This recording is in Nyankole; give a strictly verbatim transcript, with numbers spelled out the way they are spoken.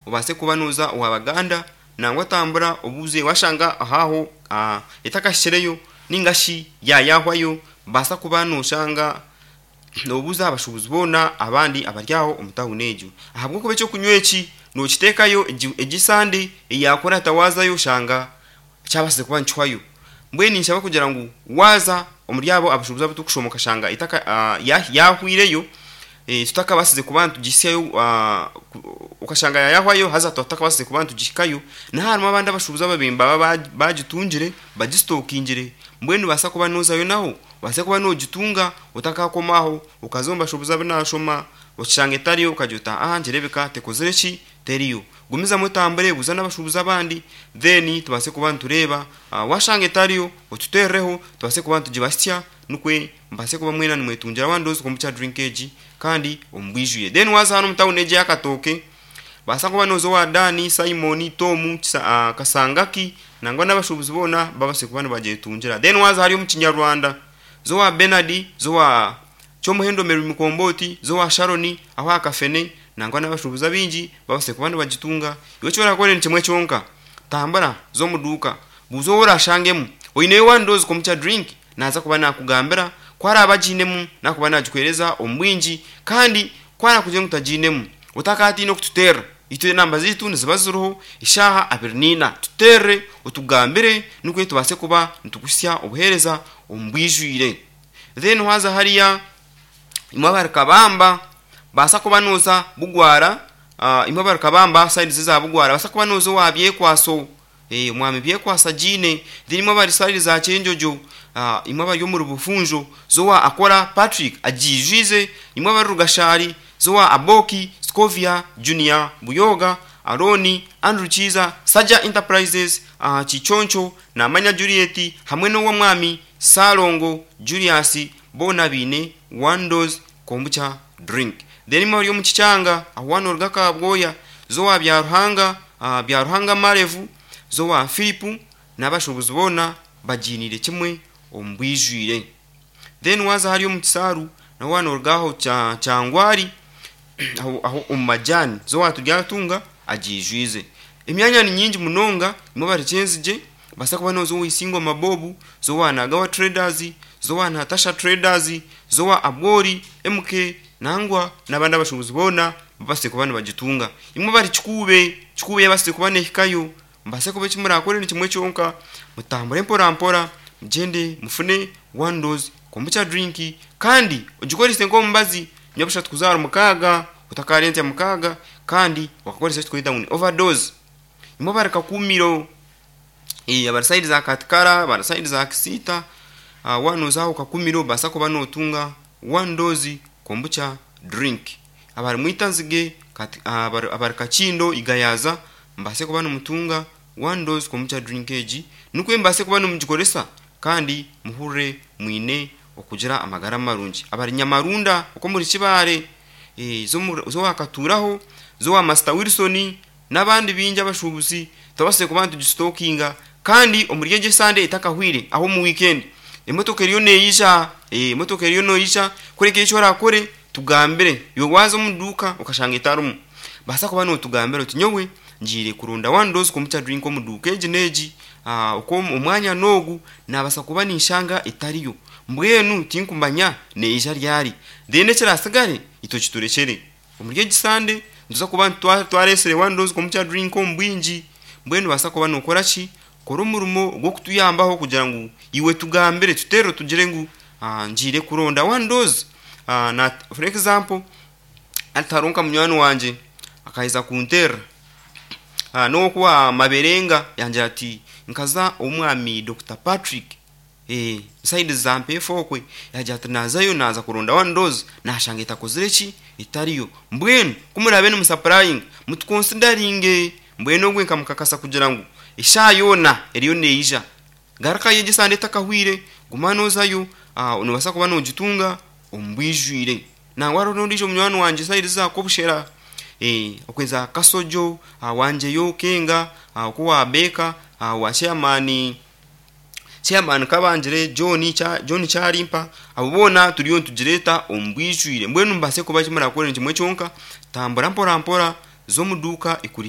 Obaase kuba nooza owa Baganda, nangwa tambura obuuze, washanga ahaaho ah, etakashikireyo ninga shi yayahwayo, baasa kuba noshanga nobuuza abashuubuzi boona abandi abari aho omu tawuni egyo, ahabw'okuba ekyokunywa eki nokiteekayo egi egi Sande eyakurata waazayo oshanga kyabasize kuba nikihwayo. Mbwenu ninshaba kugira ngu waaza omuri abo abashuubuzi abu turikushoma okashanga etaka ah, yahwireyo, eh, tutakabasize kuba nitugihisyayo, ah, okashanga yayahwayo haza tutakabasize kuba nitugihikayo, niho harimu abandi abashuubuzi ababaire nibaba bagitungire, bagisitokingire. Mbwenu nobaasa kuba nozayo naho obaase kuba nogitunga otakakoma aho okaza omu bashuubuzi abu nashoma okishanga etariyo, okagira oti aa nikireebeka tekozire ki, teriyo. Gumizamu otambure, buuza n'abashuubuzi abandi, then tubaase kuba nitureeba, washanga etariyo otuteerereho tubaase kuba nitugibahitsya, nikwe mubaase kuba mwena nimwetungira one dose kombucha drink egi kandi omu bwijwire. Then waaza hanu omu tawuni egi eya Katooke, baasa kuba nooza owa Dan, Simon, Tom, Kisa, Kasangaki nangwa n'abashuubuzi boona babaase kuba nibagyetungira. Then waaza hariya omu Kinyarwanda, za owa Bernard, za owa Kyomuhendo Mary Mukombooti, za owa Sharon aho aha Kafene, nangwa n'abashuubuzi abaingi babaase kuba nibagitunga. Iwe eki orakore ni kimwe kyonka, tambura za omu duuka, buuza ou orashangemu oineyo one dose kombucha drink, naaza kuba nakugambira ku araabe agiinemu nakuba nagikuheereza omu bwingi, kandi ku arakugire ngu tagiinemu otakatiina okututeerera. Itwe enamba zaitu niziba ziriho eshaaha abiri n'ina, tuteerere otugambire nikwo tubaase kuba nitukuhitsya obuheereza omu bwijwire. Then waaza hariya imwe abari Kabamba, baasa kuba nooza Bugwara, uh, imwe abari Kabamba side za Bugwara, baasa kuba nooza owa Byekwaso, eh, omwami Byekwaso agiine. Then imwe abari side za Kyenjojo, uh, imwe abari omuri Bufunjo, zowa Akora Patrick agiijwize. Imwe abari Rugashari, zowa Aboki Scovia Junior Buyoga Aroni Andrew Kiiza Saja Enterprises, uh, Kichoncho Namanya Juliet hamwe n'owomwami Salongo Julius, boona baine one dose kombucha drink. Then imwe abari omu Kikyanga, aho waanoruga Kabwoya, zowa Byaruhanga, uh, Byaruhanga Marevu, zowa Philip n'abashuubuzi boona bagiiniire kimwe omu bwijwire. Then waaza hariya omu Kisaaru, naho waanoruga aho Kya Kyangwari aho aho omu majani, zowa Turyatunga agiijwize. Emyanya ni nyingi munonga. Imwe abari Kyenzigye, baasa kuba nooza owa Isingoma Bob, zowa Nagawa Traders, zowa Natasha Traders, zowa Abwori M K, nangwa n'abandi abashuubuzi boona babaase kuba nibagitunga. Imwe abari Kikuube, Kikuube yabaasize kuba neehikayo, mubaase kuba eki murakore ni kimwe kyonka, mutambure mpora mpora, mugyende mufune one dose kombucha drink kandi ogikorese nk'omubazi nyabushatu kuza ahari mukaaga, otakarentsya mukaaga kandi okakoresa eki turikweta ngu ni overdose. Imwe abari Kakumiro, eh, abari side za Katikara, abari side za Kisiita, uh, waanoza aho Kakumiro baasa kuba nootunga one dose kombucha drink. Abari Mwitanzige, kati, uh, abari, abari Kakindo Igayaza, mubaase kuba nimutunga one dose kombucha drink egi, nikwo mubaase kuba nimugikoresa kandi muhurire mwine okugira amagara marungi. Abari Nyamarunda okwo muri Kibaare, eh, z'owakaturaho, z'owa Master Wilson n'abandi bingi abashuubuzi, tubasize kuba nitugisitokinga kandi omuri egi esande etakahwire, aho omu weekend emotoka eriyo neija, eh, emotoka eriyo neija. Kureka eki orakore, tugambire. Iwe waaza omu duuka okashanga etarimu, baasa kuba nootugambira oti nyowe ngiire kuronda one dose kombucha drink omu duuka egi n'egi, uh, okwo omwanya n'ogu naabasa kuba ninshanga etariyo, mbwenu tinkumanya neija ryari. Then ekirasigare itwe kiturekyere. Omuri egi Sande nituza kuba twaresire one dose kombucha drink omu bwingi. Mbwenu baasa kuba nookora ki, kora omurimo gw'okutuyambaho kugira ngu iwe tugambire, tuteerere tugire ngu uh, ngiire kuronda one dose. uh, na for example, hati hariho nka munywani wangye akaheza kunterera uh, n'owokuwa Maberenga, yangira ati nkaza omwami Doctor Patrick, eh, side za Mpeefu okwe, yagira ati nazayo naza kuronda one dose nashanga etakozire ki, etariyo. Mbwenu kumurabe nimusupplyinga mutuconsideringe. Mbwenu ogwe nkamukakasa kugira ngu eshaaha yoona eriyo neija. Garukayo egi esande etakahwire, guma nozayo, uh, nobaasa kuba nogitunga omu bwijwire. Nangwa hariho n'ondiijo munywani wangye side za Kobushera, eh, okwe za Kasojo, uh, wangyeyo Kenga, uh, oku wa Beka, uh, wa chairman chairman Kabangire John, Cha, John Kyarimpa, abo boona turiyo nitugireeta omu bwijwire. Mbwenu mubaase kuba eki murakore ni kimwe kyonka, tambura mpora mpora z'omu duuka ekuri.